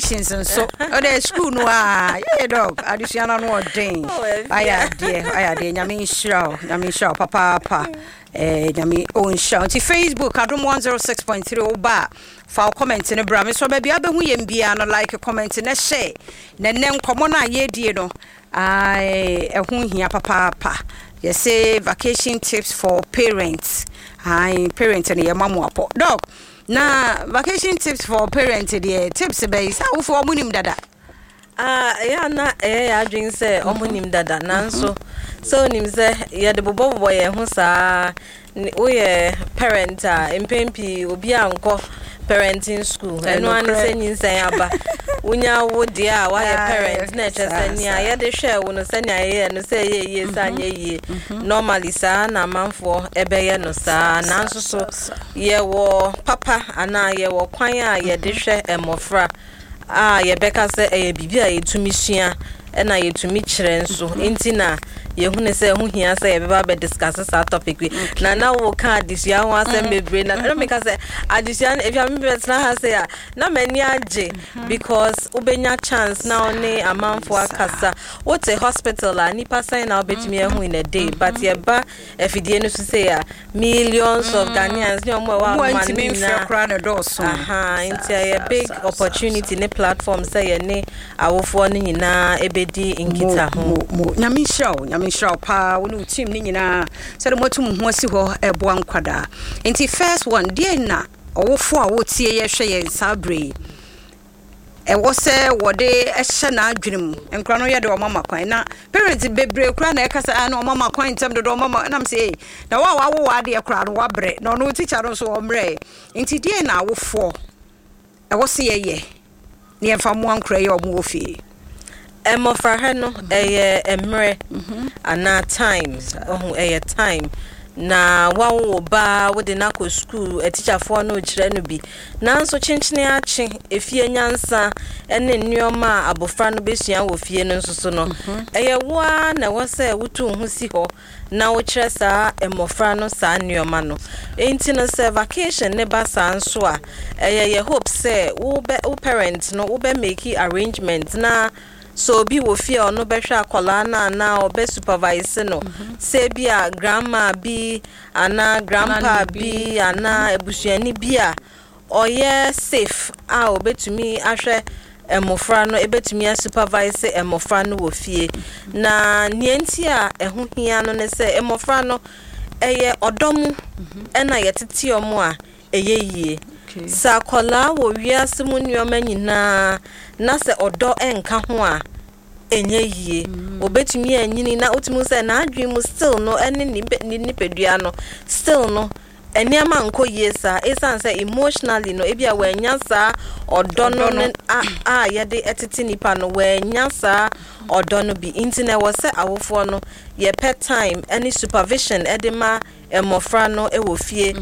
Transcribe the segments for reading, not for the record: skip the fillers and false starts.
Vacations nso ɔdɛ school no a yɛyɛ Doc, adesua no ano ɔden. Oh, ɛfia. Ayɛ adeɛ, ayɛ adeɛ. Nyame nhyira wo, Nyame nhyira wo papaapa. Nyame ɔnhyira wo. Nti Facebook Adom 106.3, woba a, fa wo comment no bra me so. Baabi a wobɛhu yɛn biara no, like, comment na hyɛ. Na nnɛ nkɔmmɔ no a yɛredie no, ai, ɛho hia papaapa. Yɛsɛ vacation tips for parents. Ai, parent no yɛma mo apɔ. Doc, na vacation tips for parents deɛ, tips bɛyi sɛ awofoɔ ɔmo nim dada? Ah, ɛyɛ a na ɛyɛ yɛ adwene sɛ ɔmo nim dada, nanso sɛ onim sɛ yɛde bobɔbobɔ yɛn ho saa. Woyɛ parent a, mpɛn pii obi a nkɔ parenting school, ɛno ara ne sɛ nyinsɛn aba, wonya wo deɛ a woayɛ parent na ɛkyerɛ sɛ nea yɛde hwɛ wo no, sɛnea yɛyɛ no, sɛ ɛyɛ yie, sɛ anyɛ yie, normally saa na amanfoɔ ɛbɛyɛ no saa. Nanso so yɛwɔ papa anaa yɛwɔ kwan a yɛde hwɛ mmɔfra a yɛbɛka sɛ ɛyɛ biribi a yɛtumi sua ɛna yɛtumi kyerɛ nso. Nti na yɛhunu sɛ ɛho hia sɛ yɛbɛba abɛdiscuss saa topic yi. Na woka adesua ho asɛm bebree na ɛna meka sɛ adesua no efia mebɛtena ha sɛ a na m'ani agye because wobɛnya chance na wo ne amanfoɔ akasa. Wote hospital a, nipa sɛn na wobɛtumi ahu in a day? But yɛba afidie no so sei a, millions of Ghanaians ne ɔmo a ɛwɔ ɔmo a ama no ntumi mfrɛ nyinaa koraa ne dɔɔso. Aha, nti ɛyɛ big opportunity ne platform sɛ yɛne awofoɔ no nyinaa ɛbɛdi nkita ho. Mo mo, Nyame nhyira wo, Nyame nhyira wo paa, wo ne wo team ne nyinaa, sɛde moatu mo ho asi hɔ ɛboa nkwadaa. Nti first one deɛ, na ɔwofo a wotie yɛhwɛ yɛn saa berɛ yi, ɛwɔ sɛ wɔde ɛhyɛ n'adwene mu, nkora no yɛde ɔma ma kwan, na parents bebree koraa na ɛka sɛ, "Ah, na ɔma ma kwan ntɛm dodo, ɔma ma." Nam sɛ, "Ei, na wo a wawo w'adeɛ koraa no wabrɛ, na ɔno teacher no nso ɔmmerɛ." Nti deɛ na awofoɔ ɛwɔ sɛ yɛyɛ ne yɛmfa mmoa nkora yi a ɔmo wɔ fie? Mmɔfrahwɛ no ɛyɛ mmerɛ anaa time ɔho, ɛyɛ time na wawo wo ba, wode no akɔ sukuu, atikyafoɔ no kyerɛ no bi, nanso kyenkyene akye efie nyansa ne nneɛma a abɔfra no bɛsua wɔ fie no nso so no, ɛyɛ wo ara na ɛwɔ sɛ wotu wo ho si hɔ na wokyerɛ saa mmɔfra no saa nneɛma no. Nti no sɛ vacation ne ba saa nso a, ɛyɛ yɛ hope sɛ wo parent no wobɛ make arrangement na so obi wɔ fie a ɔno bɛhwɛ akwadaa no anaa ɔbɛ supervise no, sɛ bi a grandma bi anaa grandpa Nana bi anaa abusuani bi a ɔyɛ safe a obetumi ahwɛ mmɔfra no, ebetumi asupervise mmɔfra no wɔ fie. Na nea nti a ɛho hia no ne sɛ mmɔfra no, ɛyɛ ɔdɔ mu ɛna yɛtete ɔmo a ɛyɛ yie. Sɛ akwadaa wɔ wiase mu nneɛma nyinaa na sɛ ɔdɔ nka ho a, ɛnyɛ yie. Obetumi anyini na wotumi sɛ n'adwene mu still no ɛne ne nipadua no still no, nneɛma nkɔ yie saa, ɛsiane sɛ emotionally no ebi a wɔanya saa ɔdɔ no Ɔdɔ no. ne a yɛde ɛtete nipa no, wɔanya saa ɔdɔ no bi. Nti na ɛwɔ sɛ awofoɔ no yɛpɛ time ɛne supervision ɛde ma mmɔfra no ɛwɔ fie,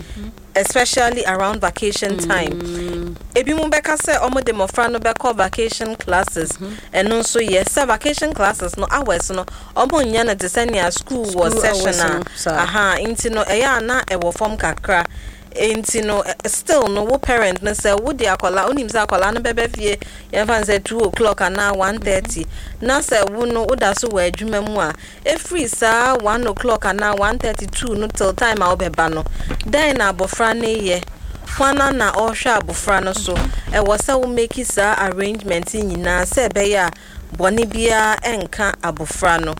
especially around vacation time. Ebi mu bɛka sɛ ɔmo de mmɔfra no bɛkɔ vacation classes. Ɛno nso yɛ sɛ vacation classes no, hours no ɔmo nyɛ no te sɛ nea school wɔ School session hours a no, saa. Aha, nti no ɛyɛ a na ɛwɔ fam kakra. Nti no still no, wo parent no, sɛ wode akwadaa, wonim sɛ akwadaa no bɛbɛ fie, yɛmfa no sɛ 2 o'clock anaa 1:30, na sɛ wo no woda so wɔ adwuma mu a, ɛfiri saa 1 o'clock anaa 1:32 no till time a wobɛba no, dɛn na abɔfra no yɛ? Hwana na ɔrehwɛ abɔfra no so? Ɛwɔ sɛ wo make saa arrangement yi nyinaa sɛ ɛbɛyɛ a bɔne biara ɛnka abɔfra no.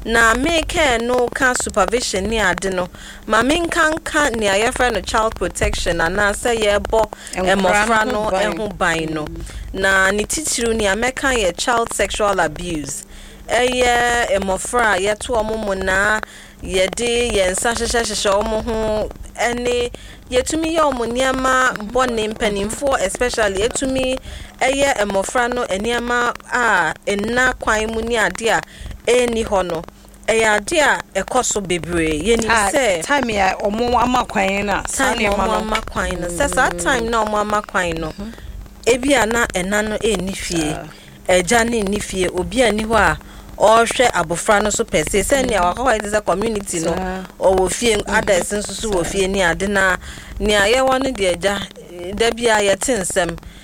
Na mekɛɛ no ka supervision ne ade no, ma menkanka nea yɛfrɛ no child protection anaasɛ yɛbɔ Nkwadaa mmɔfra no no ho ban. ho ban no, na ne titiriw nea mɛka yɛ child sexual abuse. Ɛyɛ mmɔfra a yɛto wɔn mu naa, yɛde yɛn nsa hyehyɛhyehyɛ wɔn ho, ɛne yɛtumi yɛ wɔn nneɛma bɔne. Mpanimfoɔ especially ɛtumi ɛyɛ mmɔfra no nneɛma a nna kwan mu ne adeɛ a ɛnni hɔ no, ɛyɛ adeɛ a ɛkɔ so bebree. Yɛnim Ah, sɛ time a ɔmo ama kwan na saa time a nneɛma ɔmo no ama kwan no, sɛ saa time na ɔmo ama kwan no, ebi a na ɛna no ɛnni fie, ɛgya no nni fie, obi a nni hɔ a ɔrehwɛ abɔfra no so pɛ se sɛnea wakɔkɔ te sɛ community no ɔwɔ fie, others nso so wɔ fie ne ade. Na nea yɛwɔ no deɛ, agya, da bi a yɛte nsɛm.